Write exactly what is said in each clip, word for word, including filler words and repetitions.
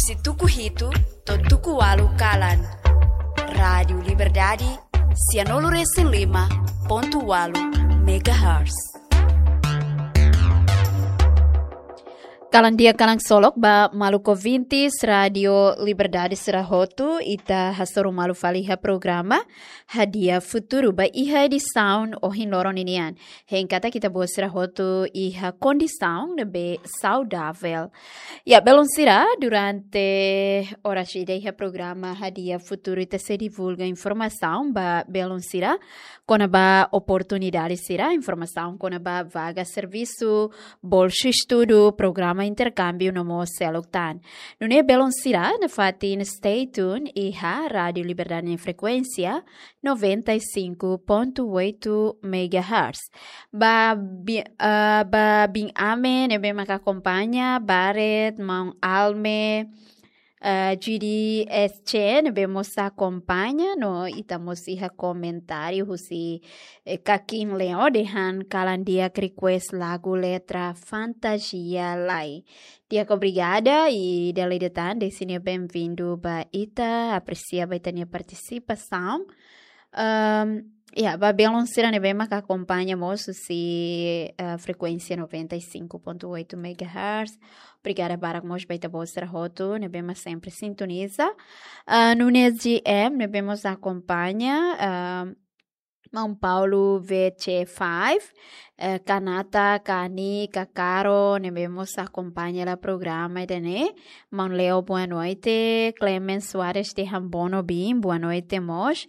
Husi tuku hitu to'o tuku ualu kalan. Rádiu Liberdade, sianulu resin lima pontu ualu megahertz. Kalan di'ak, kalan ksolok ba maluk ouvintes Rádiu Liberdade sira hotu, ita hasoru malu fali iha programa Hadi'a Futuru ba iha edisaun ohin loron ninian. Hein katak ita-boot sira hotu iha kondisaun ne'ebé saudavel. Ya, belun sira, durante oras ida iha programa Hadi'a Futuru ita sei divulga informasaun ba belun sira kona-ba oportunidade sira, informasaun kona-ba vaga servisu, bolsa estudu, programa interkámbiu no mós seluk tan. Nune'e belun sira nafatin stay tuned iha Rádiu Liberdade nia frekuénsia noventa e cinco ponto oito megahertz. Ba bi-, ah, ba biin Ame ne'ebé maka akompaña, Baret, maun Alme, ah, Judy S C ne'ebé mós akompaña, no ita mós iha komentáriu husi, eh, Kakin Leo dehan kalan di'ak request lagu letra Fantasia Lai. Di'ak, obrigada, i dala ida tan dehan sira benvindu ba ita, apresia ba ita-nia partisipasaun. Ahm, ya, ba belun sira ne'ebé maka akompaña mós husi, eh, frekuénsia noventa e cinco ponto oito megahertz. Obrigada barak mós ba ita-boot sira hotu ne'ebé mak sempre sintoniza. Ah, Nunes G M ne'ebé mós akompaña, ah, maun Paulo V C five, eh, Kanata, Kani, Kakaro ne'ebé mós akompaña hela programa ida-ne'e. Maun Leo, boa noite. Clemens Soares dehan bono biin, boa noite mós.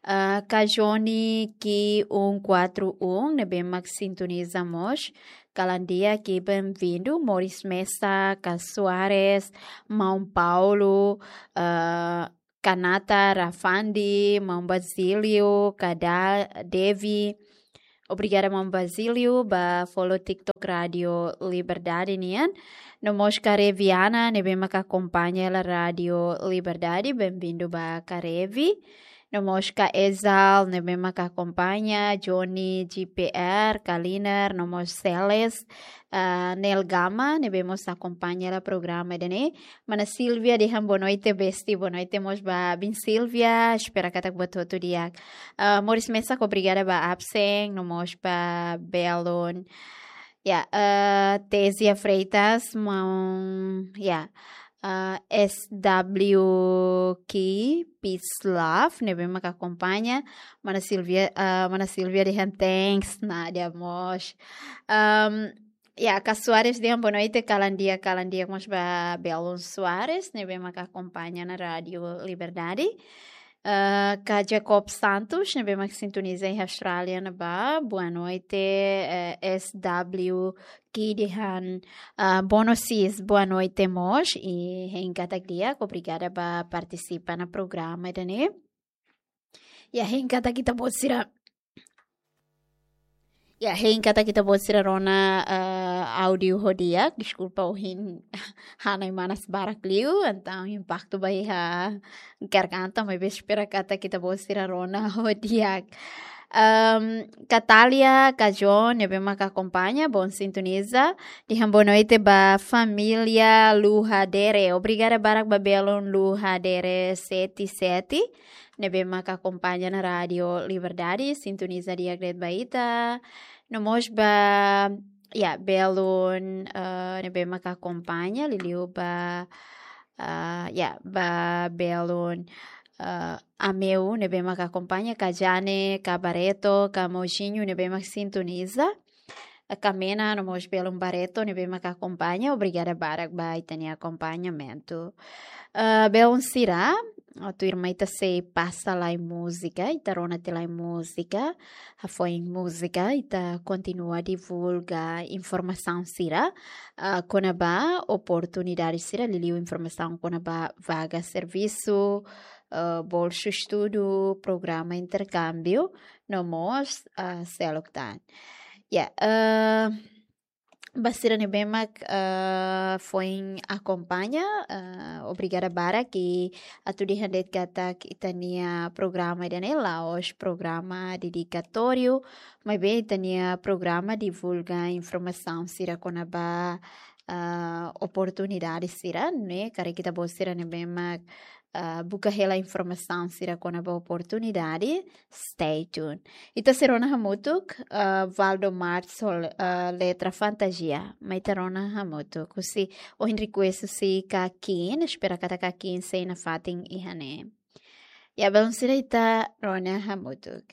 Ah, Kajoni Ki um quatro um ne'ebé mak sintoniza mós. Kalan di'ak, benvindu. Moris Mesa, Ka Soares, maun Paulo, ah, Kanata, Rafandi, maun Basílio, Kada, Devi. Obrigada maun Basílio ba follow TikTok Rádiu Liberdade nian. No mós Kareviana ne'ebé maka akompaña hela Rádiu Liberdade, benvindu ba Karevi. No mós Ka Ezal ne'ebé maka akompaña, Johnny G P R, Kaliner, no mós Celes, ah, Nel Gama ne'ebé mós akompaña hela programa ida-ne'e. Mana Silvia dehan boa noite besti, boa noite mós ba biin Silvia, espera katak buat hotu di'ak. Ah, Moris Mesa, obrigada ba absen, no mós ba belun. Ya, ah, Tesia Freitas, maun, ya, ah, S W K, Peace Love ne'ebé maka akompaña. Mana Silvia, ah, mana Silvia dehan thanks, Nadia mós. Ahm, ya, Ka Soares dehan boa noite, kalan di'ak, kalan di'ak mós ba belun Soares ne'ebé maka akompaña ona Rádiu Liberdade. Eh, Ka Jacob Santos ne'ebé mak sintoniza iha Austrália ne'ebá, boa noite, eh, S W K dehan, ah, bono sis, boa noite mós, i hein katak di'ak, obrigada ba partisipa ona programa ida-ne'e. Ya, hein katak ita-boot sira, ya, hein katak ita-boot sira rona, eh, áudiu ho di'ak, deskulpa ohin hanoin manas barak liu, entaun impaktu ba iha garganta, maibé espera katak ita-boot sira rona ho di'ak. Ahm, Katalia, Ka John, ne'ebé maka akompaña, bom sintoniza. Dehan boa noite ba família Luhadere. Obrigada barak ba belun Luhadere sete sete ne'ebé maka akompaña ona Rádiu Liberdade, sintoniza di'ak de'it ba ita. No mós ba, ya, belun, eh, ne'ebé maka akompaña, liuliu ba, eh, ya, ba belun, eh, Ameu ne'ebé maka akompaña, Ka Jane, Ka Bareto, Ka Mojinho ne'ebé mak sintoniza. Kamena no mós belun Bareto ne'ebé maka akompaña, obrigada barak ba ita-nia akompañamentu. Eh, belun sira, atu irmai ita sei pasa lai múzika, ita rona tiha lai múzika, hafoin múzika, ita kontinua divulga informasaun sira, ah, kona-ba oportunidade sira, liuliu informasaun kona-ba vaga servisu, eh, bolsa estudu, programa interkámbiu, no mós, ah, seluk tan. Ya, eh, ba sira ne'ebé mak, eh, foin akompaña, eh, obrigada barak, i atu dehan de'it katak ita-nia programa ida-ne'e la'ós programa dedikatóriu, maibé ita-nia programa divulga informasaun sira kona-ba, eh, oportunidade sira, ne'e, karik ita-boot sira ne'ebé mak, ah, buka hela informasaun sira kona-ba oportunidade, stay tuned. Ita sei rona hamutuk, ah, Valdo Martins ho, ah, letra Fantasia, mai ita rona hamutuk. Husi ohin request husi Kakin, espera katak Kakin sei nafatin iha ne'e. Ya, belun sira, ita rona hamutuk.